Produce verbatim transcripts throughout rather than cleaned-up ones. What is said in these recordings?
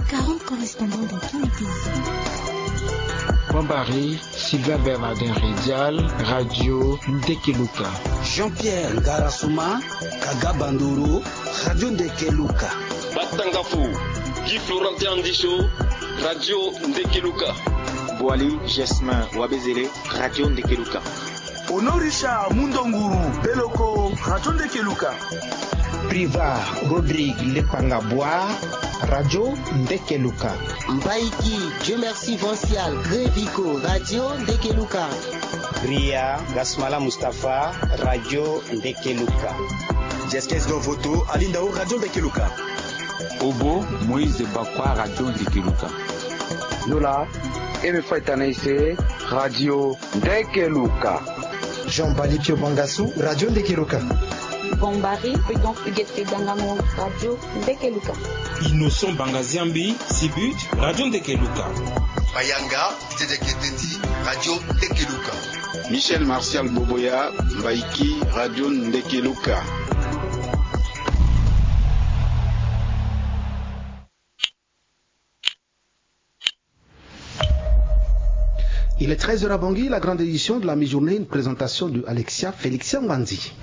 Quarante correspondants dans tous les pays. Bambari, Sylvain Bernardin Redial, Radio Ndekeluka. Jean-Pierre Ngarasuma, Kaga Bandoro, Radio Ndekeluka. Batangafo, Guy Florentin Andisho, Radio Ndekeluka. Boali Jasmin Wabezele, Radio Ndekeluka. Honorisha Mundonguru Beloko, Radio Ndekeluka. Priva Rodrigue Lepanga Bois, Radio Ndekeluka. Mbaiki Dieu Merci Vancial Grevico, Radio Ndekeluka. Ria Gasmala Mustapha, Radio Ndekeluka. Jeskes Dovoto Alindao, Radio Ndekeluka. Obo Moïse Bakwa, Radio Ndekeluka. Nola Eme Faitanaise, Radio Ndekeluka. Jean Balipio Bangasu, Radio Ndekeluka. Bombari Prudent Huguette Dangango, Radio Ndekeluka. Innocent Bangaziambi Sibut, Radio Ndekeluka. Mayanga Tedeketeti, Radio Ndekeluka. Michel Martial Boboya, Mbaiki, Radio Ndekeluka. Il est treize heures à Bangui, la grande édition de la mi-journée, une présentation de Alexia Félixia Ngwanzi.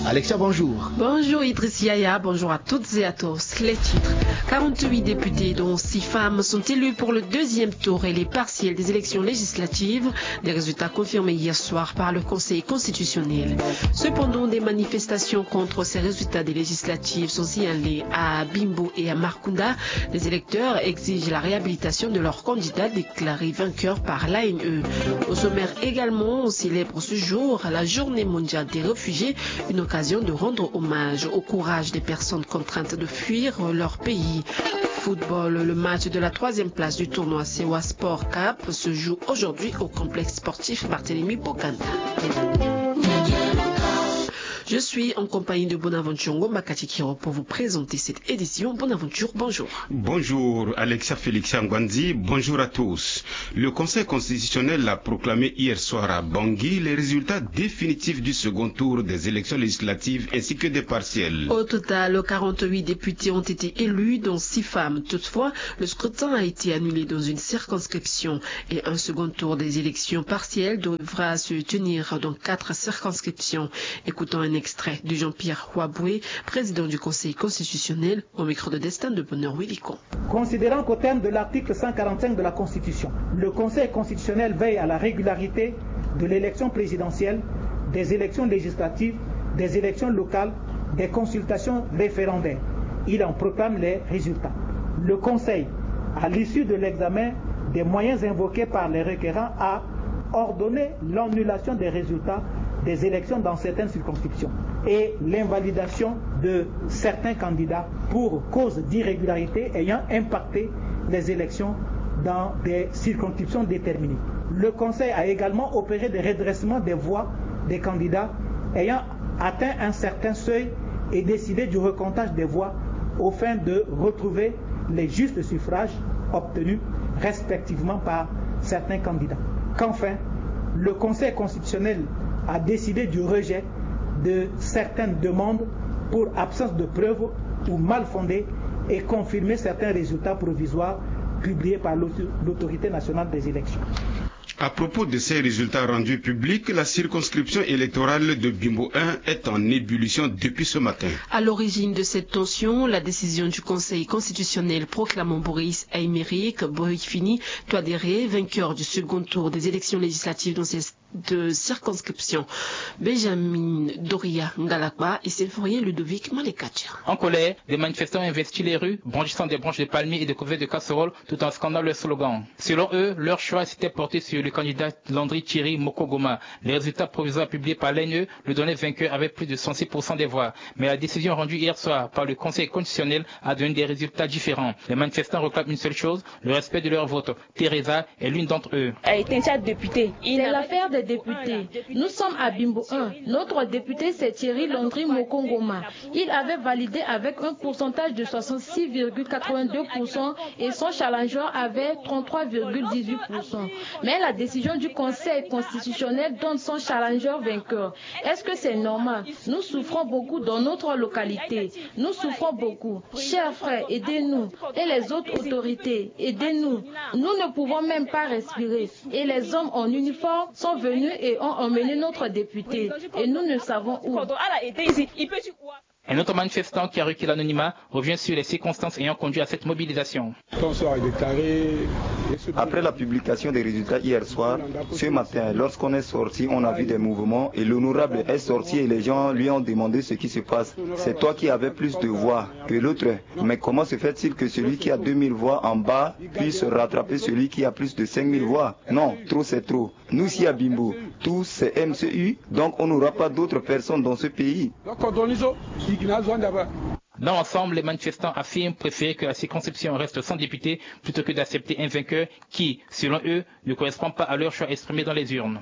Alexia, bonjour. Bonjour Idriss Yaya, bonjour à toutes et à tous. Les titres. Quarante-huit députés, dont six femmes, sont élus pour le deuxième tour et les partielles des élections législatives. Des résultats confirmés hier soir par le Conseil constitutionnel. Cependant, des manifestations contre ces résultats des législatives sont signalées à Bimbo et à Marcounda. Les électeurs exigent la réhabilitation de leur candidat déclaré vainqueur par l'A N E. Au sommaire également, on célèbre ce jour la journée mondiale des réfugiés, une occasion de rendre hommage au courage des personnes contraintes de fuir leur pays. Football, le match de la troisième place du tournoi Sewa Sport Cup se joue aujourd'hui au complexe sportif Barthélemy Boganda. Je suis en compagnie de Bonaventure Ngomba Katikiro pour vous présenter cette édition. Bonaventure, bonjour. Bonjour Alexia Félixia Ngwanzi, bonjour à tous. Le Conseil constitutionnel a proclamé hier soir à Bangui les résultats définitifs du second tour des élections législatives ainsi que des partielles. Au total, quarante-huit députés ont été élus, dont six femmes. Toutefois, le scrutin a été annulé dans une circonscription et un second tour des élections partielles devra se tenir dans quatre circonscriptions. Écoutons un extrait de Jean-Pierre Hoaboué, président du Conseil constitutionnel, au micro de Destin de Bonheur Willicon. Considérant qu'au terme de l'article cent quarante-cinq de la Constitution, le Conseil constitutionnel veille à la régularité de l'élection présidentielle, des élections législatives, des élections locales, des consultations référendaires, il en proclame les résultats. Le Conseil, à l'issue de l'examen des moyens invoqués par les requérants, a ordonné l'annulation des résultats des élections dans certaines circonscriptions et l'invalidation de certains candidats pour cause d'irrégularité ayant impacté les élections dans des circonscriptions déterminées. Le Conseil a également opéré des redressements des voix des candidats ayant atteint un certain seuil et décidé du recomptage des voix aux fins de retrouver les justes suffrages obtenus respectivement par certains candidats. Qu'enfin, le Conseil constitutionnel a décidé du rejet de certaines demandes pour absence de preuves ou mal fondées et confirmer certains résultats provisoires publiés par l'auto-, l'Autorité nationale des élections. À propos de ces résultats rendus publics, la circonscription électorale de Bimbo un est en ébullition depuis ce matin. À l'origine de cette tension, la décision du Conseil constitutionnel proclamant Boris Aymeric Boifini Touadéra vainqueur du second tour des élections législatives dans cette circonscription. Benjamin Doria Ngalakba et Symphorien Ludovic Malekatia. En colère, des manifestants ont investi les rues, brandissant des branches de palmier et des couverts de casseroles, tout en scandant leur slogan. Selon eux, leur choix s'était porté sur le candidat Landry Thierry Mokogoma. Les résultats provisoires publiés par l'A N E le donnaient vainqueur avec plus de cent six pour cent des voix. Mais la décision rendue hier soir par le Conseil constitutionnel a donné des résultats différents. Les manifestants réclament une seule chose, le respect de leur vote. Teresa est l'une d'entre eux. C'est l'affaire de Députés. Nous sommes à Bimbo un. Notre député, c'est Thierry Landry Mokongoma. Il avait validé avec un pourcentage de soixante-six virgule quatre-vingt-deux pour cent et son challenger avait trente-trois virgule dix-huit pour cent. Mais la décision du Conseil constitutionnel donne son challenger vainqueur. Est-ce que c'est normal? Nous souffrons beaucoup dans notre localité. Nous souffrons beaucoup. Chers frères, aidez-nous. Et les autres autorités, aidez-nous. Nous ne pouvons même pas respirer. Et les hommes en uniforme sont venus et ont emmené notre député. Et nous ne savons où. Un autre manifestant qui a requis l'anonymat revient sur les circonstances ayant conduit à cette mobilisation. Après la publication des résultats hier soir, ce matin, lorsqu'on est sorti, on a vu des mouvements et l'honorable est sorti et les gens lui ont demandé ce qui se passe. C'est toi qui avais plus de voix que l'autre. Mais comment se fait-il que celui qui a deux mille voix en bas puisse rattraper celui qui a plus de cinq mille voix? Non, trop c'est trop. Nous, ici à Bimbo, tous c'est M C U, donc on n'aura pas d'autres personnes dans ce pays. Dans l'ensemble, les manifestants affirment préférer que la circonscription reste sans député plutôt que d'accepter un vainqueur qui, selon eux, ne correspond pas à leur choix exprimé dans les urnes.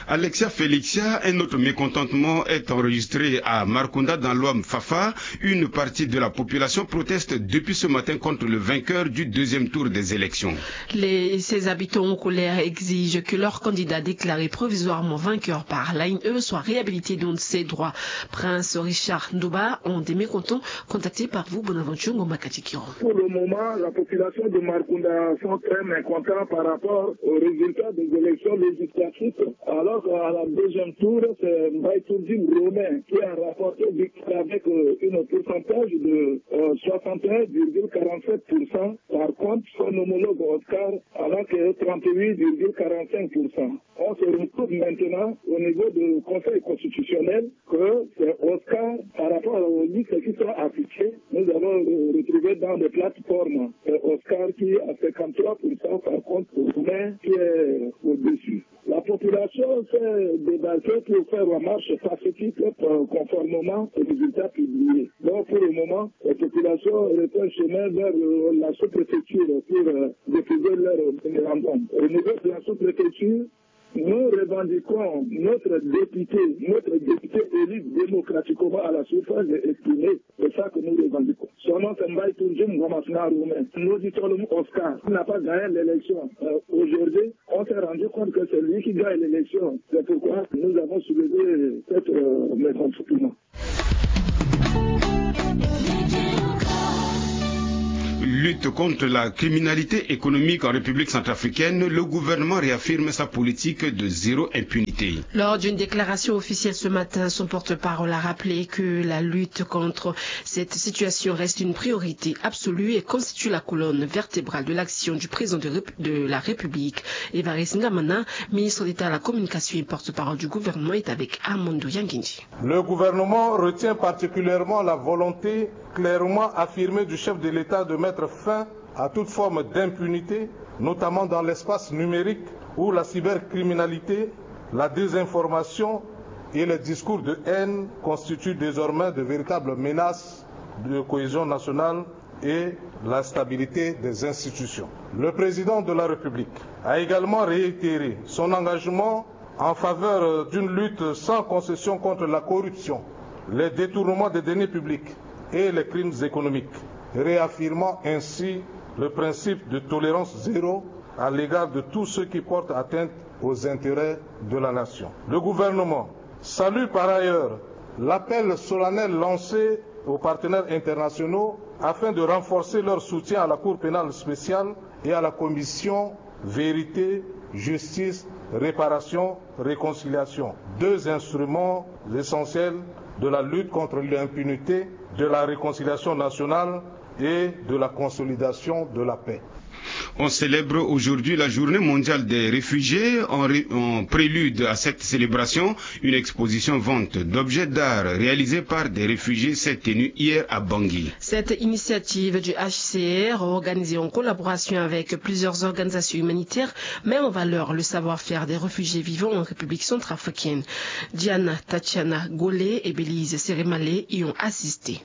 Alexia Felixia, un autre mécontentement est enregistré à Markunda dans l'Ouham Fafa. Une partie de la population proteste depuis ce matin contre le vainqueur du deuxième tour des élections. Les, ces habitants en colère exigent que leur candidat déclaré provisoirement vainqueur par l'A N E soit réhabilité dans ses droits. Prince Richard Ndoba, un des mécontents, contacté par vous, Bonaventure Ngomba Katikiro. Pour le moment, la population de Markunda sont très mécontents par rapport aux résultats des élections législatives, alors qu'à la deuxième tour, c'est Mbaye Tourdine Romain qui a rapporté victoire avec euh, une pourcentage de euh, soixante et un virgule quarante-sept pour cent. Par contre, son homologue Oscar avec euh, trente-huit virgule quarante-cinq pour cent. On se retrouve maintenant au niveau du Conseil constitutionnel que c'est Oscar, par rapport aux listes qui sont affichées, nous avons euh, retrouvé dans les plateformes, c'est Oscar qui a cinquante-trois pour cent, par contre, Romain qui est au-dessus. La population s'est débarquée pour faire la marche pacifique euh, conformément aux résultats publiés. Donc, pour le moment, la population reprend chemin vers euh, la sous-préfecture pour euh, déposer leur mémorandum. Au niveau de la sous-préfecture, nous revendiquons notre député, notre député élu démocratiquement à la suffrage exprimé. C'est ça que nous revendiquons. Son nom, c'est Mbaye Tourdine Ngoma Sina Romain. Nous dit Oscar, il n'a pas gagné l'élection. Euh, Aujourd'hui, on s'est rendu compte que c'est lui qui gagne l'élection. C'est pourquoi nous avons soulevé cette euh, mécontentement. Lutte contre la criminalité économique en République centrafricaine, le gouvernement réaffirme sa politique de zéro impunité. Lors d'une déclaration officielle ce matin, son porte-parole a rappelé que la lutte contre cette situation reste une priorité absolue et constitue la colonne vertébrale de l'action du président de, Rép- de la République. Évariste Ngamana, ministre d'État à la communication et porte-parole du gouvernement, est avec Armando Yangindi. Le gouvernement retient particulièrement la volonté clairement affirmée du chef de l'État de mettre fin à toute forme d'impunité, notamment dans l'espace numérique où la cybercriminalité, la désinformation et les discours de haine constituent désormais de véritables menaces de cohésion nationale et la stabilité des institutions. Le président de la République a également réitéré son engagement en faveur d'une lutte sans concession contre la corruption, les détournements des deniers publics et les crimes économiques, réaffirmant ainsi le principe de tolérance zéro à l'égard de tous ceux qui portent atteinte aux intérêts de la nation. Le gouvernement salue par ailleurs l'appel solennel lancé aux partenaires internationaux afin de renforcer leur soutien à la Cour pénale spéciale et à la Commission Vérité, Justice, Réparation, Réconciliation, deux instruments essentiels de la lutte contre l'impunité, de la réconciliation nationale et de la consolidation de la paix. On célèbre aujourd'hui la journée mondiale des réfugiés. En, ré- en prélude à cette célébration, une exposition vente d'objets d'art réalisée par des réfugiés s'est tenue hier à Bangui. Cette initiative du H C R, organisée en collaboration avec plusieurs organisations humanitaires, met en valeur le savoir-faire des réfugiés vivant en République centrafricaine. Diana Tatiana Golé et Belize Seremale y ont assisté.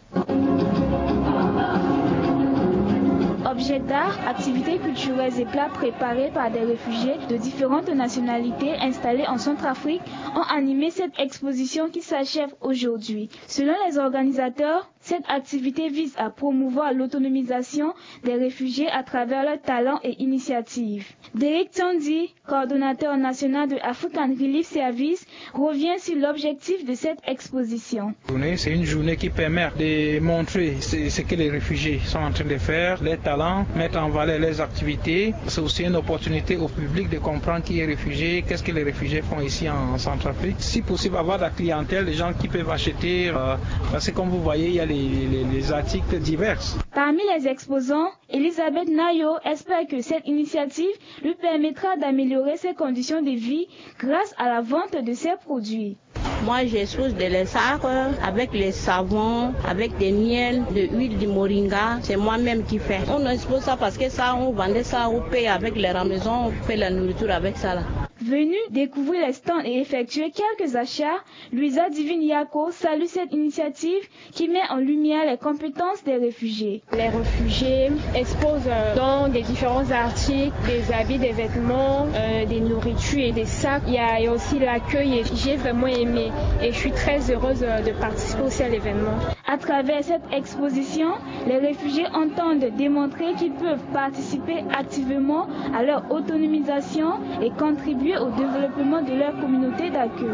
D'art, activités culturelles et plats préparés par des réfugiés de différentes nationalités installés en Centrafrique ont animé cette exposition qui s'achève aujourd'hui. Selon les organisateurs, cette activité vise à promouvoir l'autonomisation des réfugiés à travers leurs talents et initiatives. Derek Tandy, coordonnateur national de African Relief Service, revient sur l'objectif de cette exposition. C'est une journée qui permet de montrer ce, ce que les réfugiés sont en train de faire, les talents, mettre en valeur les activités. C'est aussi une opportunité au public de comprendre qui est réfugié, qu'est-ce que les réfugiés font ici en Centrafrique. Si possible, avoir de la clientèle, des gens qui peuvent acheter, euh, parce que comme vous voyez, il y a les, les, les articles divers. Parmi les exposants, Elisabeth Nayo espère que cette initiative lui permettra d'améliorer ses conditions de vie grâce à la vente de ses produits. Moi, j'expose de les sacres avec les savons, avec des miels, de huile de moringa. C'est moi-même qui fais. On expose ça parce que ça, on vendait ça au pays avec les ramaisons, on fait la nourriture avec ça là. Venue découvrir les stands et effectuer quelques achats, Luisa Divine Yako salue cette initiative qui met en lumière les compétences des réfugiés. Les réfugiés exposent, euh, donc des différents articles, des habits, des vêtements, euh, des nourritures et des sacs. Il y a, il y a aussi l'accueil et j'ai vraiment aimé et je suis très heureuse, euh, de participer aussi à l'événement. À travers cette exposition, les réfugiés entendent démontrer qu'ils peuvent participer activement à leur autonomisation et contribuer au développement de leur communauté d'accueil.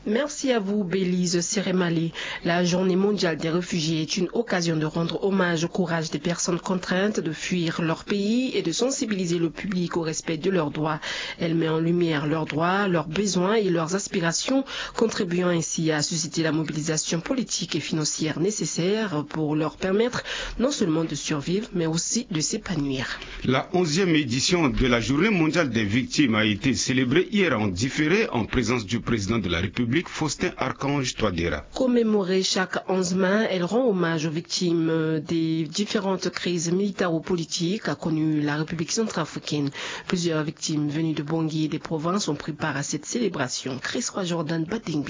Merci à vous, Belize Seremale. La Journée mondiale des réfugiés est une occasion de rendre hommage au courage des personnes contraintes de fuir leur pays et de sensibiliser le public au respect de leurs droits. Elle met en lumière leurs droits, leurs besoins et leurs aspirations, contribuant ainsi à susciter la mobilisation politique et financière nécessaire pour leur permettre non seulement de survivre, mais aussi de s'épanouir. La onzième édition de la Journée mondiale des victimes a été célébrée hier en différé en présence du président de la République, Faustin Archange Touadéra. Commémorée chaque onze mai, elle rend hommage aux victimes des différentes crises militaro-politiques, a connu la République centrafricaine. Plusieurs victimes venues de Bangui et des provinces ont pris part à cette célébration. Chris Roy Jordan Badingbe.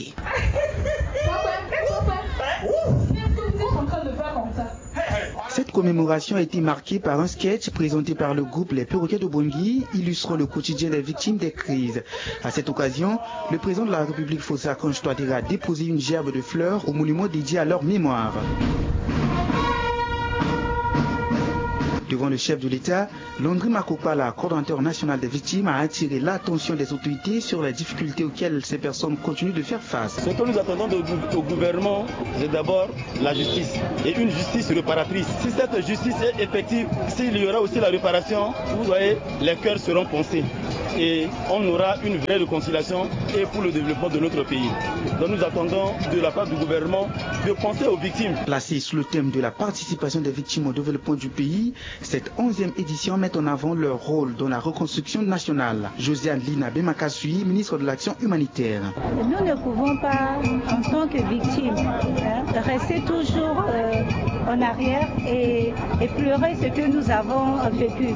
Cette commémoration a été marquée par un sketch présenté par le groupe Les Perroquets de Bangui, illustrant le quotidien des victimes des crises. À cette occasion, le président de la République, Faustin Archange Touadéra, a déposé une gerbe de fleurs au monument dédié à leur mémoire. Devant le chef de l'État, Landry Makopala, coordonnateur national des victimes, a attiré l'attention des autorités sur les difficultés auxquelles ces personnes continuent de faire face. Ce que nous attendons de gou-, au gouvernement, c'est d'abord la justice, et une justice réparatrice. Si cette justice est effective, s'il y aura aussi la réparation, vous voyez, les cœurs seront pansés et on aura une vraie réconciliation et pour le développement de notre pays. Donc nous attendons de la part du gouvernement de penser aux victimes. Placée sous le thème de la participation des victimes au développement du pays, cette onzième édition met en avant leur rôle dans la reconstruction nationale. Josiane Lina Bemakasui, ministre de l'Action humanitaire. Nous ne pouvons pas, en tant que victimes, hein, rester toujours, euh, en arrière et, et pleurer ce que nous avons vécu.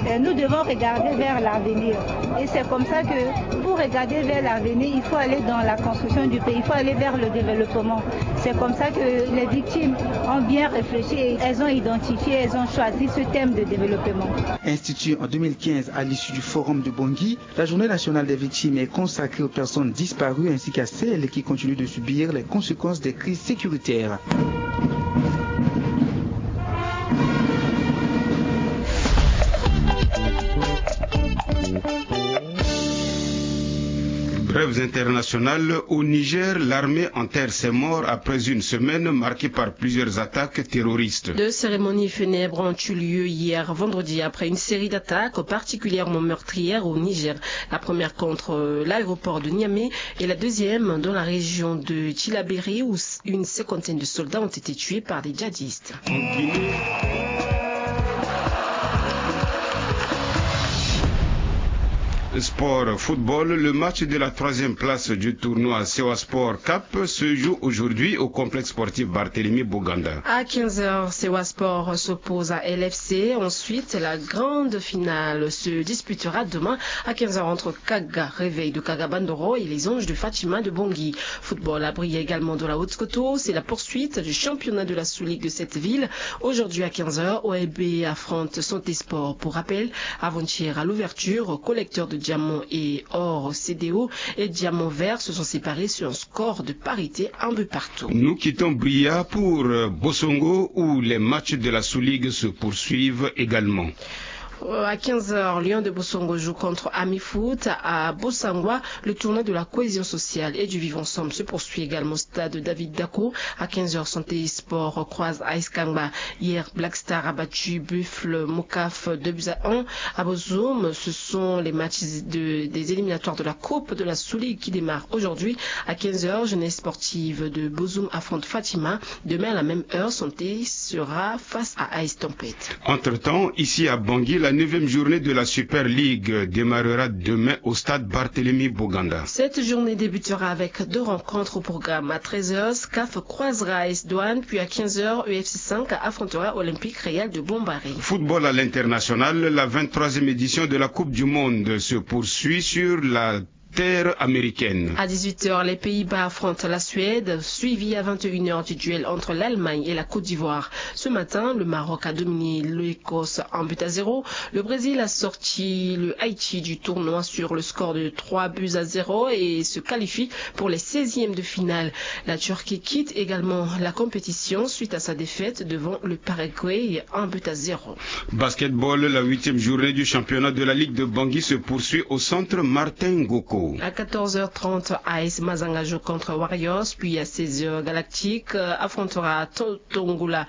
Euh, nous devons regarder vers l'avenir. Et c'est comme ça que, pour regarder vers l'avenir, il faut aller dans la construction du pays, il faut aller vers le développement. C'est comme ça que les victimes ont bien réfléchi et elles ont identifié, elles ont choisi ce thème de développement. Institué en deux mille quinze à l'issue du Forum de Bangui, la Journée nationale des victimes est consacrée aux personnes disparues ainsi qu'à celles qui continuent de subir les conséquences des crises sécuritaires. Brèves internationales. Au Niger, l'armée enterre ses morts après une semaine marquée par plusieurs attaques terroristes. Deux cérémonies funèbres ont eu lieu hier vendredi après une série d'attaques particulièrement meurtrières au Niger. La première contre, euh, l'aéroport de Niamey et la deuxième dans la région de Tillabéri où s-, une cinquantaine de soldats ont été tués par des djihadistes. En Guinée. Sport football, le match de la troisième place du tournoi Sewa Sport Cup se joue aujourd'hui au complexe sportif Barthélemy Boganda. À quinze heures, Sewa Sport s'oppose à L F C. Ensuite, la grande finale se disputera demain à quinze heures entre Kaga, Réveil de Kaga Bandoro, et les Anges de Fatima de Bangui. Football, à Bria également dans la Haute-Kotto, c'est la poursuite du championnat de la sous-ligue de cette ville. Aujourd'hui à quinze heures, O L B affronte Santé Sport. Pour rappel, avant-hier à l'ouverture, collecteurs de diamants et or C D O et diamants verts se sont séparés sur un score de parité, un but partout. Nous quittons Bria pour, euh, Bosongo, où les matchs de la sous-ligue se poursuivent également. Euh, à quinze heures, Lion de Bosongo joue contre Ami Foot à Bossangoa. Le tournoi de la cohésion sociale et du vivre ensemble se poursuit également au stade David Dako. À quinze heures, Santé Sport croise A S Kangba. Hier, Black Star a battu Buffle Mokaf deux buts à un. À Bozoum, ce sont les matchs de, des éliminatoires de la Coupe de la Sous-Ligue qui démarrent aujourd'hui. À quinze heures, Jeunesse Sportive de Bozoum affronte Fatima. Demain, à la même heure, Santé sera face à A S Tempête. Entre-temps, ici à Bangui, la neuvième journée de la Super League démarrera demain au stade Barthélemy Boganda. Cette journée débutera avec deux rencontres au programme. À treize heures, S C A F croisera A S Douane, puis à quinze heures, E F C cinq affrontera Olympique Real de Bombari. Football à l'international, la vingt-troisième édition de la Coupe du Monde se poursuit sur la terre américaine. À dix-huit heures, les Pays-Bas affrontent la Suède, suivi à vingt et une heures du duel entre l'Allemagne et la Côte d'Ivoire. Ce matin, le Maroc a dominé l'Écosse un but à zéro. Le Brésil a sorti le Haïti du tournoi sur le score de trois buts à zéro et se qualifie pour les seizièmes de finale. La Turquie quitte également la compétition suite à sa défaite devant le Paraguay, un but à zéro. Basketball, la huitième journée du championnat de la Ligue de Bangui se poursuit au centre Martin Ngoko. À quatorze heures trente, A S Mazanga joue contre Warriors, puis à seize heures, Galactique, euh, affrontera To-, Tongola.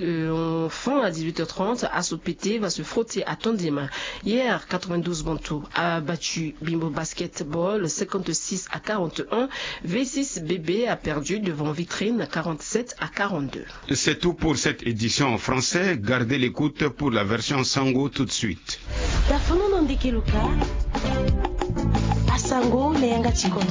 Euh, enfin, à dix-huit heures trente, Asopete va se frotter à Tondema. Hier, quatre-vingt-douze Bantou a battu Bimbo Basketball cinquante-six à quarante et un. V six B B a perdu devant Vitrine quarante-sept à quarante-deux. C'est tout pour cette édition en français. Gardez l'écoute pour la version Sango tout de suite. Tafono na ndeke luka. Asango na yanga ti koto.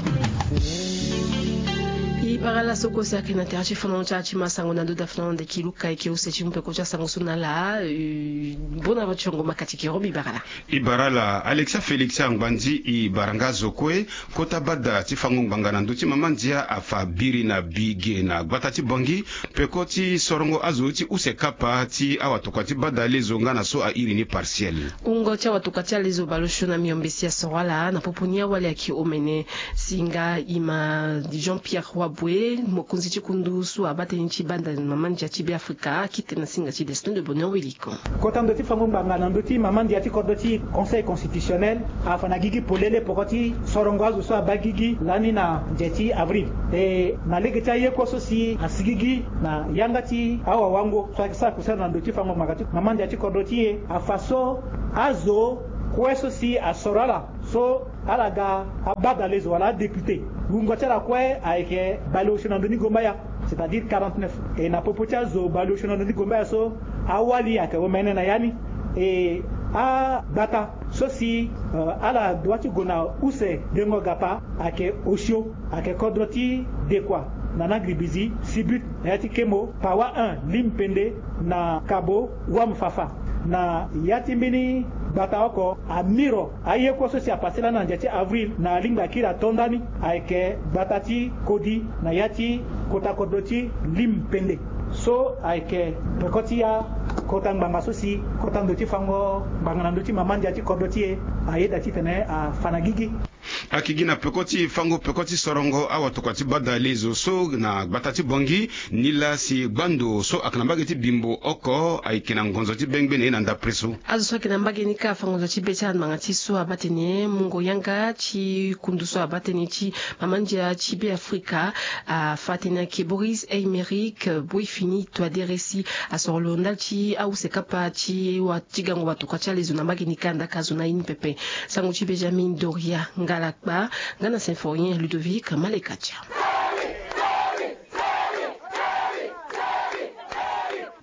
I bara la so kue si ayeke na tere ti fana ti atima sango na ndo tafono na ndeke luka eke use ti mu peko ti asango so na ala. Eh, bona va ti yongo makati ke robi bara la. I bara la Alexia Félix Angbandi, i bara nga zo kue. Kota bada ti fango ngbanga na ndö ti mama ndia afa biri na bige na gbata ti Bangui, peko ti sorongo azo ti use kapa ti awatokua ti bada lezo nga na so airi ni partiel. Wungo ti awatokua ti alezo baleosio na miombe si asoro ala na popo ni awali ayeke omene. Singa i ma Jean-Pierre Waboué, mokonzi ti kundu so abaa tënë ti bada na mama ndia ti Beafrika, akite na singa ti Destin de Bonheur Wiliko. Kota ndo ti fango ngbanga na ndö ti mama ndia ti kodro ti Conseil constitutionnel afa na gigi polele poko ti sorongo azo so abaa gigi lani na nze ti avril. E na lege ti aye kue so si asigigi na yanga ti awawango so ayeke sara kusala na ndö ti fango ngbanga ti mama ndia ti kodro ti e, afa so azo kue so si asoro ala so ala ga abadalezo wala adéputé, wungo ti ala kue ayeke baleosio na ndö ni gombaya, c'est-à-dire quarante-neuf. E na popo ti azo baleosio na ndö ni gombaya so, awali ayeke omene na ya ni. E agbata so si, euh, ala dua ti gue na use dengo gapa ayeke osio, ayeke kodro ti Dekua na Nagribizi, Sibut na ya ti Kemo, Pawa un, Limpende na Kabo, Wamfafa. Na ya ti mbeni gbata oko, amiro aye kue so si apase lani na ndia ti avril na alingbi akiri ato ndani, ayeke gbata ti Kodi na ya ti kota kodro ti Limpende. So ayeke peko ti akota ngbanga so si kota ndo ti fango ngbanga na ndö ti mama ndia ti kodro ti e ayeda titene afa na gigi. Akigi na peko ti fango peko ti sorongo awatokua ti bada lezo so na gbata ti Bangui, ni laa si gbando so ayeke na mbage ti Bimbo oko ayeke na ngonzo ti bengbe na ye na ndapre so. Azo so ayeke na mbage ni kâ afa ngonzo ti be ti ala ngbanga ti so abaa tënë mungo yanga ti kundu so abaa tënë ti mama ndia ti Beafrika, afa tënë ayeke Boris Eymerik Boifini Touadéra si asoro lo ndali ti ahusekapa ti wa ti gango watokua ti alezo na mbage ni kanda ka zo na ye ni pepe. Sango ti Benjamin Doria Ngalakpa nga na Symphorien Ludovic Malekatia.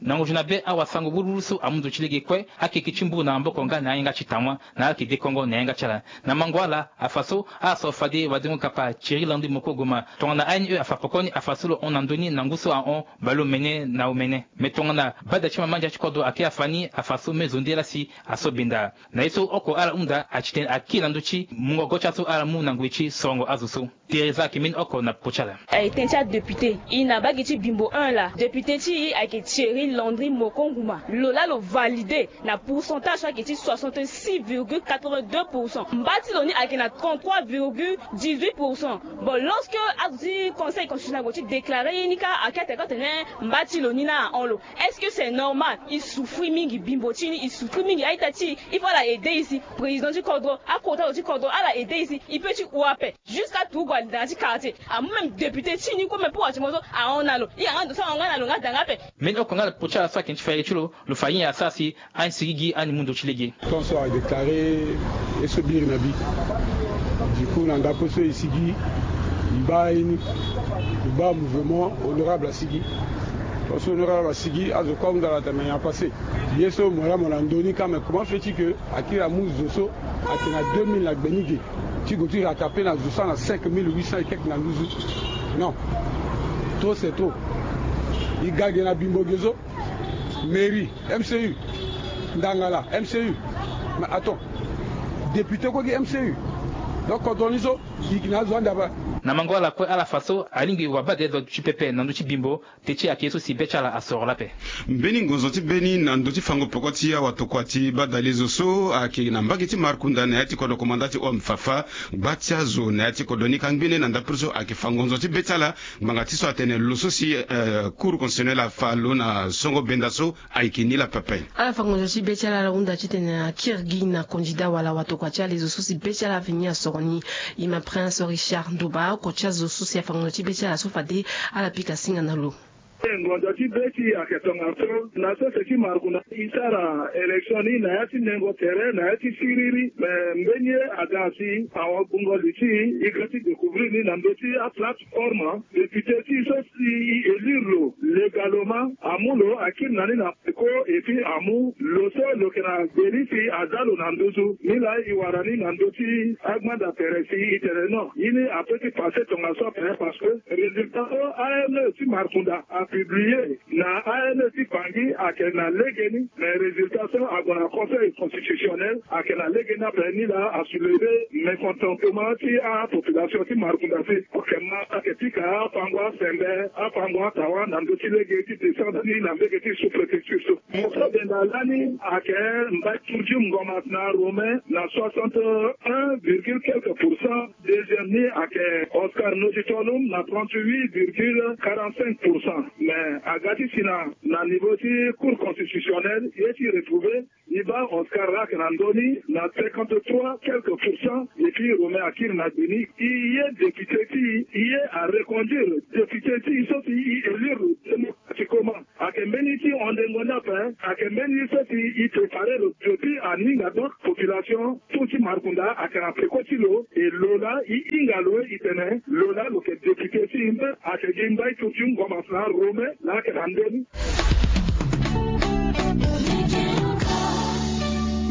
Na ngozuna be awasango wuruwuru so amu ndo ti lege kue, akeke ti mbu na maboko nga na ayanga ti tawa na ayeke dekongo na yanga ti ala. Na mango ala afa so ala soro fade wadengo kapa Thierry Landry Moko Goma. Tongana A N E afa pokoni afa so lo hon na ndö ni na ngu so ahon baleomene na omene. Me tongana bada ti mama ndia ti kodro ayeke afa ni afa so me zo nde laa si aso benda. Na ye so oko ala hunda ati tene aki na ndö ti mungo go ti aso ala mu na ngoi ti sorongo azo so. Teresa ayeke mbeni oko na popo ti ala. Aye tënë ti adéputé e na mbage ti Bimbo un laa, député ti e ayeke Thierry Landry Moko Nguma. Lo laa lo validé na pourcentage so ayeke ti soixante-six virgule quatre-vingt-deux pour cent. Mba ti lo ni ayeke na trente-trois virgule dix-huit pour cent. Bon, lorsque azo ti conseil constitutionnel ague ti déclaré ye ni kâ, ayeke atene kâ tene mba ti lo ni na ahon lo. Est-ce que c'est normal? E souffrir mingi, Bimbo ti e ni e souffrir mingi, a-ita ti e, il faut ala aider e si. Président ti kodro, akota lo ti kodro, ala aider e si. E peut ti hon ape. Jusqu'à turugu ali na ya ti quartier. Amu même député ti e ni kue même pour wati mo so ahon na lo. E yanga ndo so ahon nga na lo nga da nga ape. Mbeni oko nga na popo ti ala so ayeke ti fere ti lo, lo fa ye ni asara si anisigi gi ani mu ndo ti lege. Ton so adéclaré ye so biri na bi. Du coup na ndapo so e sigi, e baa ye ni, e baa mouvement honorable asigi. Ton so honorable asigi, azo kue ahunda ala tene me nyen apasé. Ye so mo laa mo na ndö ni kâ, mais comment fait-il que akiri amu zo so ayeke na deux mille na gbe ni ge ti gue ti rattrapé na zo so ana cinq mille huit cents et quelques na nduzu? Non. Trop c'est trop. E ga ge na Bimbo ge so, mairie, M C U, Ndangala, M C U. Mais attends, député kue gi M C U. Donc kodro ni so e yeke na azo ande ape. Na mango ala kue ala fa so alingbi wabadale zo ti pepe na ndö ti Bimbo. Teti ayeke ye so si be ti ala asoro lape. Mbeni ngonzo ti be ni na ndö ti fango peko ti awatokua ti badale zo so ayeke na mbage ti Markunda na ya ti kodro komanda ti O M Fafa. Gba ti azo na ya ti kodro ni ka ngbene na ndapre so ayeke fa ngonzo ti be ti ala ngbanga ti so atene lo so si, eh, Cour constitutionnelle afa lo na songo benda so ayeke ni la pepe. Ala fa ngonzo ti be ti ala, ala hunda titene akiri gi na kondida wala watokua ti ala zo so si be ti ala aveni asoro ni. Ima Prince Richard Ndoba, oko ti azo so si afa ngonzo ti be ti ala so fade ala pika singa na lo. Ngonzo ti be ti e ayeke tongaso na sese ti Markunda e sara élection ni na ya ti nengo tere na ya ti siriri. Me mbeni ye aga si awagbungo li ti e, e ga ti découvrir ni na ndö ti aplateforme. Député ti e so si e élire lo légalement, amu lo akiri na ni na peko, et puis amu lo so lo yeke na gbe ni si aza lo na nduzu. Ni laa e wara ni na ndö ti agbanda tere si e tene non, ye ni apeut ti passé tongaso ape, parce que résultat so A N E ti Markunda apublié na A N E ti Bangui ayeke na lege ni. Mais résultat so ague na Conseil constitutionnel ayeke na lege ni ape. Ni laa asoulever mécontentement ti apopulation ti Markunda si, ok, ma ayeke pika afango asembe, afango atawa na ndö ti lege ti descendre ni na mbage ti sous-préfecture so. Mo so benda lani ayeke Mbaye Tourdieu Ngomas na Romain na soixante et un virgule quelques pour cent. Deuxième ni ayeke Oscar Notitolum na trente-huit virgule quarante-cinq pour cent. Mais aga ti si na, na niveau ti Cour constitutionnelle, ye ti retrouver, e baa Oscar laa ayeke na ndö ni na cinquante-trois quelques pour cent, et puis Romain akiri na gbe ni. E ye député ti e, e ye areconduire député ti e so si e élire lo démocratiquement. Ayeke mbeni ti hondengo ni ape, ayeke mbeni so si e préparer lo depuis aninga. Donc population tout ti Markunda ayeke na peko ti lo, e lo laa e hinga lo, e tene lo laa lo yeke député ti e. Mbe ayeke gi Mbaye Tourdieu Ngomas na Romain laa ayeke na ndö ni.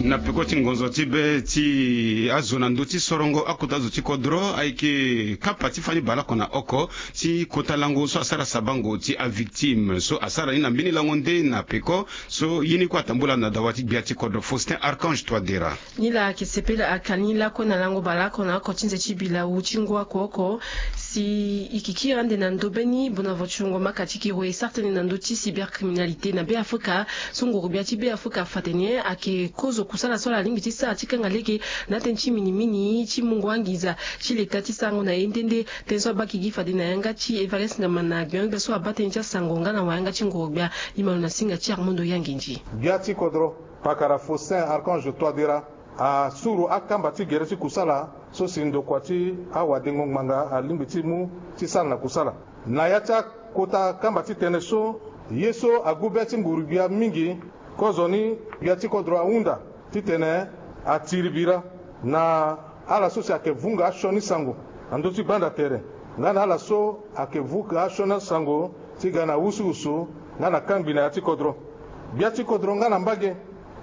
Na peko ti ngonzo ti be ti azo na ndö ti sorongo akota zo ti kodro, ayeke kapa ti fani baleoko na oko ti kota lango so asara sabango ti avictime so asara ni na mbeni lango nde na peko. So ye ni kue atambula na dawa ti gbia ti kodro Faustin Archange Touadéra. Ni laa ayeke sepela akani lakue na lango baleoko na oko ti nze ti bilau ti ngu oko oko. Si e yeke kiri ande na ndö be ni, bona vo ti wungo maka ti kiro e sara tënë na ndö ti cybercriminalité na Beafrika. So nguru-gbia ti Beafrika afa tene ayeke kozo kusala so ala lingbi ti sara ti kanga lege na atënë ti minimini ti mungo anginza ti leta ti sarango na e nde nde. Tënë so abaki gi fade na yanga ti Evariste Ngamana, gbia so abaa tënë ti asango nga na wayanga ti nguru-gbia. E ma lo na singa ti Armando Yanginji. Gbia ti kodro, pakara Faustin Archange Touadéra asuru akamba ti gere ti kusala so si ndokua ti awadengo ngbanga alingbi ti mu ti sara na kusala. Na ya ti akota kamba ti tënë so, ye so agu be ti nguru-gbia mingi, kozoni gbia ti kodro ahunda titene atiri bira na ala so si ayeke vunga asioni sango na ndö ti gbanda tere, nga na ala so ayeke vunga asioni asango ti ga na wusuwusu nga na kangbi na ya ti kodro. Gbia ti kodro nga na mbage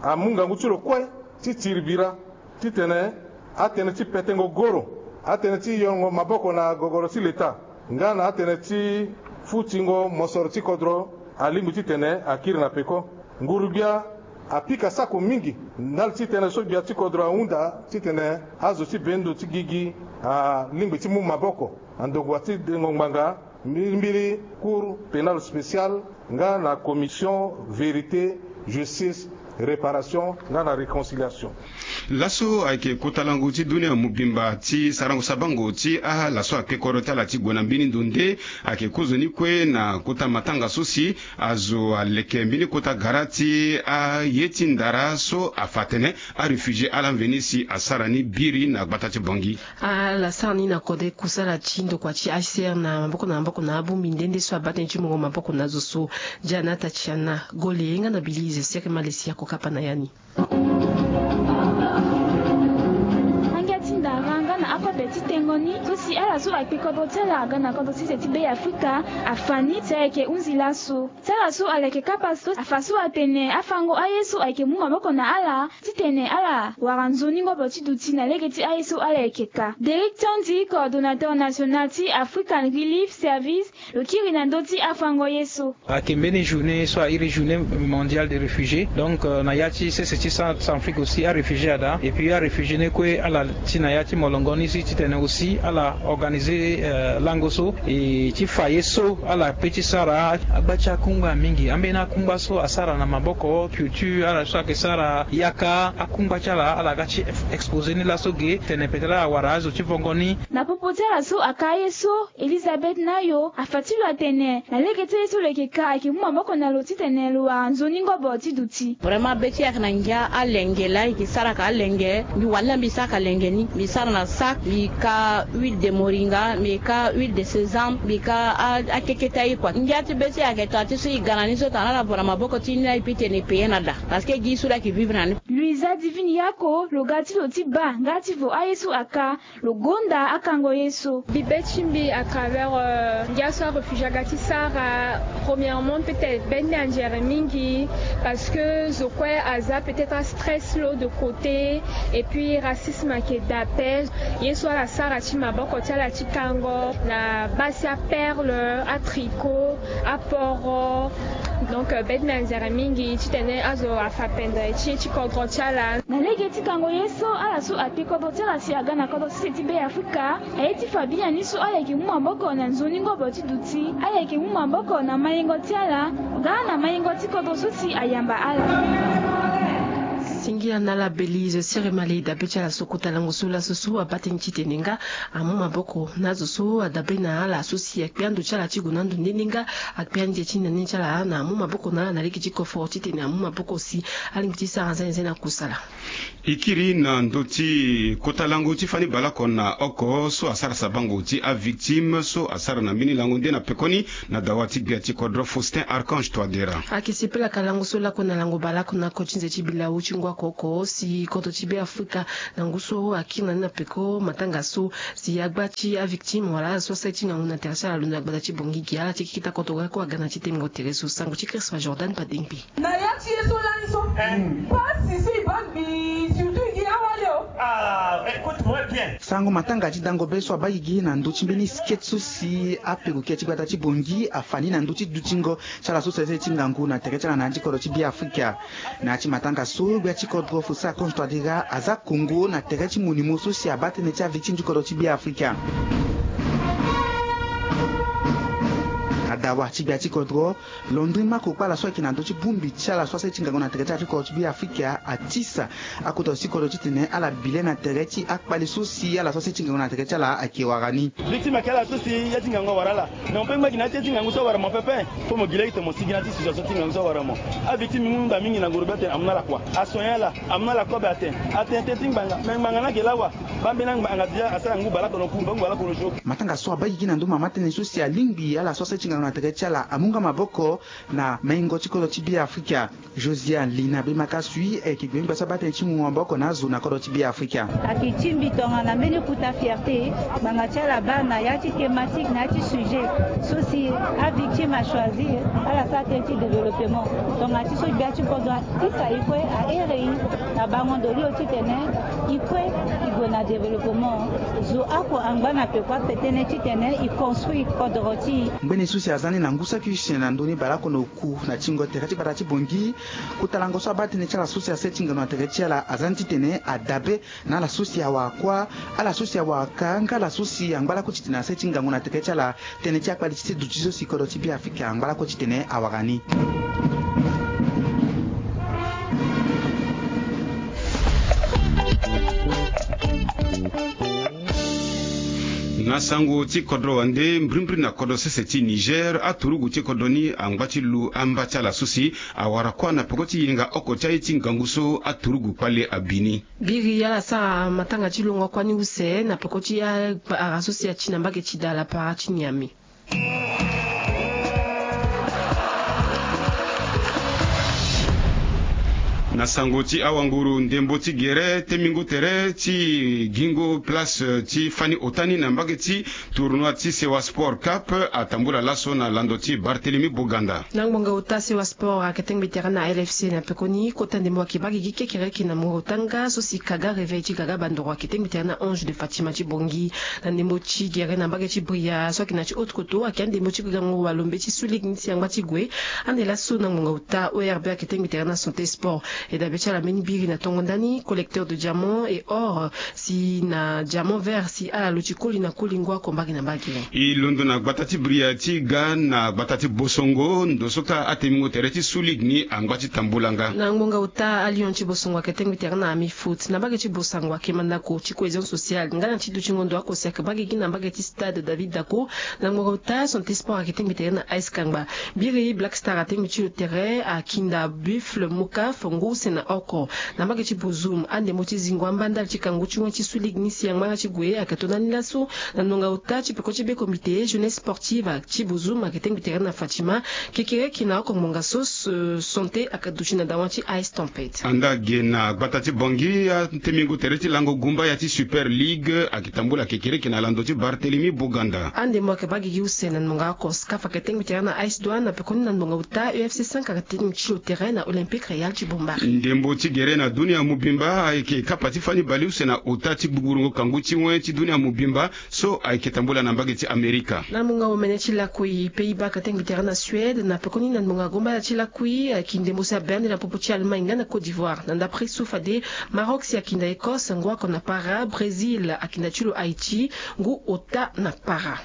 amu ngangu ti lo kue ti tiri bira titene atënë ti petengo goro, atënë ti yongo maboko na gogoro ti leta, nga na atënë ti futingo mosoro ti kodro alingbi titene akiri na peko. Nguru-gbia apika sako mingi ndali ti tënë so gbia ti kodro ahunda titene azo ti bendo ti gigi alingbi ti mu maboko na ndokua ti dengo ngbanga mbirimbiri Cour pénale spéciale nga na Commission vérité, justice, réparation nga na réconciliation. Laso ayeke kota lango ti dunia mobimba ti sarango sabango ti ala so akpe kodro ti ala ti gue na mbeni ndo nde ayeke kozoni kue na kota matanga so si azo aleke mbeni kota gara ti aye ti ndara so afa atene aréfugié ala mveni si asara ni biri na gbata ti Bangui. Ala sara ni na kode kusala ti ndokua ti H C R na maboko na maboko na abongbi nde nde so abaa tënë ti mungo maboko na azo so. Jana Tatiana Gole nga na Belize Sere Malesi ako kapa na ya ni. Angia ti ndara nga na akobe ti tengo ni so si ala so akpe kodro ti ala aga na kodro ti se ti Be Afrika afa ni si ayeke hunzi laso. Ti ala so aleke kapa so afa so atene afango aye so ayeke mu maboko na ala titene ala wara nzoni ngobo ti duti na lege ti aye so ala yeke ka. Derek Tondi, coordonnateur national ti African Relief Service, lo kiri na ndö ti afango ye so. Ayeke mbeni journée so a iri journée mondiale des réfugiés. Donc, euh, na ya ti sese ti Centrafrique aussi aréfugié ada. Et puis aréfugié ni kue ala ti na ya ti molongo ni si titene aussi ala organiser, euh, lango so e ti fa ye so ala pe ti sara. Agba ti akungba mingi, ambeni akungba so asara na maboko, culture, ala so ayeke sara yaka, akungba ti ala ala ga ti exposer ni laso ge tene peut-être ala wara azo ti vongo ni. Na popo ti ala so aka ye so, Elizabeth Nayo afa ti lo atene na lege ti aye so lo yeke ka ayeke mu maboko na lo titene lo wara nzoni ngobo ti duti. Vraiment be ti e ayeke na ngia alenge laa e yeke sara ka alenge. Mbi wala mbi sara ka lenge ni, mbi sara na sac, mbi ka huile de moringa, mbi ka huile de sésame, mbi ka a- akeke ti aye kua. Ngia ti be ti e ayeke taa ti so e ga na ni so tongana ala vo na maboko ti ni laa e peut tene e payer na daa. Parce que gi so laa e yeke vivre na ni. Luisa Divine Yako, lo ga ti lo ti baa nga ti vo aye so aka, lo gonda akango ye so. Mbi be ti mbi à travers, euh, ngia so aréfugié aga ti sara, premièrement peut-être be ni anzere mingi, parce que zo kue aza peut-être astress lo de côté, et puis racisme ayeke daa ape. Ye so ala sara ti maboko ti ala ti kango na baa si aperle, atricot, aporo. Donc, euh, be ti mbi anzere mingi titene azo afa pendere ti ye ti kodro ti ala. Na lege ti kango ye so, ala so akpe kodro ti ala si aga na kodro ti se ti Be Afrika aye ti fa biani so ala yeke mu maboko na nzoni ngobo ti duti, ala yeke mu maboko na mayengo ti ala nga na mayengo ti kodro so si ayamba ala. Singila na ala Belize Sere Malesi dabe ti ala so kota lango so laso so abaa tënë titene nga amu maboko na azo so adabe na ala so si akpe ando ti ala ti gue na ando nde nde nga akpe ande ti nene ti ala na amu maboko na ala na lege ti koforo titene amu maboko si alingbi ti sara nzene nzene na kusala. E kiri na ndö ti kota lango ti fani baleoko na oko so asara sabango ti avictime so asara na mbeni lango nde na pekoni na dawa ti gbia ti kodro Faustin Archange Touadéra. Ayeke sepelaka lango so lakue na lango baleoko na oko ti nze ti bilau ti ngu oko oko si kodro ti Be Afrika na ngu so akiri na ni na peko matanga so si agba ti avictime wala ala so asara ti ngangu na tere ti ala londo na gbata ti Bangui gi ala ti kikita kodro ga kue aga na ti tengo tere so. Sango ti Christophe Jordan Padengbe. Na ya ti ye so lani so, pasi so e baa gbi, surtout e gi awali o. Ah, écoute-moi bien. Sango matanga ti dango be so abaa gigi na ndö ti mbeni skate so si aperokia ti gbata ti Bangui afa ni na ndö ti dutingo ti ala so sese ti ngangu na tere ti ala na ya ti kodro ti Be Afrika. Na ya ti matanga so gbia ti kodro Faustin Archange Touadéra aza kongo na tere ti monimo so si abaa tënë ti avictime ti kodro ti Be Afrika. Adawa ti gbia ti kodro Landry Mako kpala so ayeke na ndö ti bongbi ti ala so asara ti ngangu na tere ti ala ti kodro ti Be Afrika atisa akota si kodro titene ala bi le na tere ti akpale so si ala so asara ti ngangu na tere ti ala ayeke wara ni. Victime ayeke ala so si ya ti ngangu awara ala. Na mo pe ngba gi na ya ti ya ti ngangu so awara mo pepe. Fo mo gi lege tene mo sigi na ya ti situation ti ngangu so awara mo. Avictime mbi mu nda mingi na ngoro be atene amu na ala kua. Asoigner ala, amu na ala kobe atene. Atene tënë ti ngbanga, me ngbanga ni ayeke laa wa. Baa mbeni angbanga dia asara ngu baleoko na ku, ngu baleoko na so. Matanga so abaa gigi na ndö mama tënë so si alingbi ala so asara ti ngangu na Tere ti ala amu nga maboko na maingo ti kodro ti Beafrika. Josiane Lina Bemakasui ayeke gbe ngba so abaa tënë ti mungo maboko na azo na kodro ti Beafrika. Ayeke tingbi tongana mbeni kota fierté ngbanga ti ala baa na ya ti thématique na ya ti sujet so si avictime achoisir ala sara tënë ti développement. Tongana ti so gbia ti kodro atisa e kue, ahere e na bango ndo lio titene e kue e gue na développement. Zo oko angba na peko ape tënë titene e construire kodro ti e. Ngbene so si aza ni na ngu saki use na ndö ni baleoko na oku na tingo tere ti gbata ti Bangui. Kota lango so abaa tënë ti ala so si asara ti ngangu na tere ti ala aza ni titene adabe na ala so si awara kuâ, ala so si awara ka nga ala so si angba lakue titene asara ti ngangu na tere ti ala. Tënë ti akpali ti seduti so si kodro ti Beafrika angba lakue titene awara ni. Na sango ti kodro wande, mbirimbiri na kodro sese ti Niger, aturugu ti kodro ni angba ti lu amba ti ala so si awara kuâ na peko ti yenga oko ti aye ti ngangu so aturugu kpale abi ni. Biri ala sara matanga ti longo kuâ ni use na peko ti akpara so si ati na mbage ti da lapara ti Niamey. Na sango ti awanguru, ndembo ti gere temingo tere ti gingo place ti fani ota ni na mbage ti tournoi ti Sewa Sport Cup atambula laso na lando ti Barthélemy Boganda. Na ngbonga ota Sewa Sport ayeke tengbi tere na L F C na pekoni kota ndembo ayeke baa gigi kekereke na mungo ota nga so si kaga réveil ti gaga bandoro ayeke tengbi tere na Ange de Fatima ti Bangui. Na ndembo ti gere na mbage ti Bria so ayeke na ti Haute-Kotto ayeke andembo ti gango walombe ti Sous Ligue ni si angba ti gue. Ande laso na ngbonga ota O R B ayeke tengbi tere na Santé Sport. E dabe ti ala mbeni biri na tongo ndani collecteur de diamant et or si na diamant vert si ala luti koli na koli ngu oko mbage na mbage. E londo na gbata ti Bria ti ga na gbata ti Bosongo ndo so kâ atemingo tere ti Sous Ligue ni angba ti tambula nga. Na ngbonga ota a Lion ti Bosongo ayeke tengbi tere na Ami Foot na mbage ti Bosango ayeke mandako ti cohésion sociale nga na ti dutingo ndo oko si ayeke baa gigi na mbage ti Stade David Dako. Na ngbonga ota Santé Sport ayeke tengbi tere na A S Kangba. Biri Black Star atengbi ti lo tere akinda Buffle Mokaf ngu use na oko. Na mbage ti Bozoum andembo ti zingo amba ndali ti kangu ti wen ti Sous Ligue ni si angba nga ti gue ayeke to ndani laso. Na ngbonga ota ti peko ti be comité jeunesse sportive ti Bozoum ayeke tengbi tere na Fatima. Kekereke na oko ngbonga so Santé ayeke duti na dawa ti A S Tempête. Anda ge na gbata ti Bangui atemingo tere ti lango gumbaya ti Super Ligue ayeke tambula kekereke na lando ti Barthélemy Boganda. Andembo ayeke baa gigi use na ngbonga oko SCAF ayeke tengbi tere na A S Douane na pekoni na ngbonga ota U F C cinq ayeke tengbi ti lo tere na Olympique Royal ti Bombari. Ndembo ti gere na dunia mobimba ayeke kapa ti fani baleuse na ota ti gbugburu ngo kangu ti wen ti dunia mobimba so ayeke tambula na mbage ti Amerika. Na mungo omene ti lakui Pays-Bas ayeke tengbi tere na Suède na pekoni na ngbonga gumbaya ti lakui ayeke ndembo si abe ande na popo ti Allemagne nga na Côte d'Ivoire. Na ndapre so fade Maroc si akinda Écosse ngu oko na para, Brésil akinda ti lo Haïti ngu ota na para.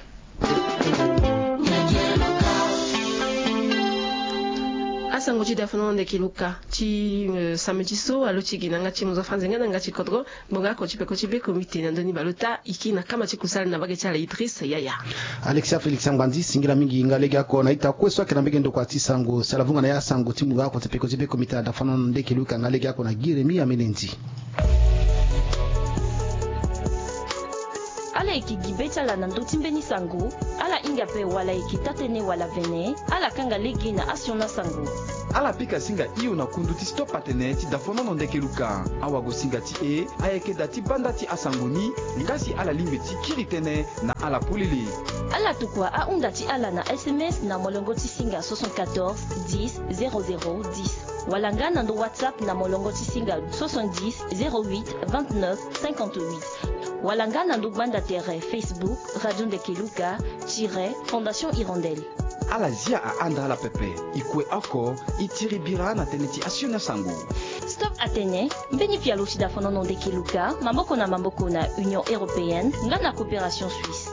Asango ti dafono ndeke luka ti, eh, samedi so alo ti gi na nga ti mozo fanze nga na nga ti kodro. Ngbonga oko ti peko ti be comité na ndoni baleota iki na kama ti kusala na mbage ti ala Idriss Yaya. Alexia Félix Angbanzi singila mingi nga lege oko na ita kue so ayeke na mbege ndokua ti sango si ala vunga na ya sango ti ngbonga oko ti peko ti be comité na dafono ndeke luka nga lege oko na Giremi Amenenzi. Ala yeke gi be ti ala na ndö ti mbeni sango. Ala hinga ape wala yeke taa-tënë wala vene, ala kanga lege na asioni asango. Ala pika singa hio na kundu ti Stop Atene ti dafonono ndeke luka. Awagosinga ti e ayeke da ti banda ti asango ni. Nga si ala lingbi ti kiri tënë na ala polele. Ala tokua ahunda ti ala na S M S na molongo ti singa soixante-quatorze dix zéro zéro dix, wala nga na ndo WhatsApp na molongo ti singa soixante-dix zéro huit vingt-neuf cinquante-huit, wala nga na ndo gbanda tere Facebook Radio Ndeke Luka tiret Fondation Hirondelle. Ala zia ahanda ala pepe. E kue oko e tiri bira na tënë ti asioni asango. Stop Atene, mbeni pialo ti dafonono ndeke luka maboko na maboko na Union Européenne nga na Coopération Suisse.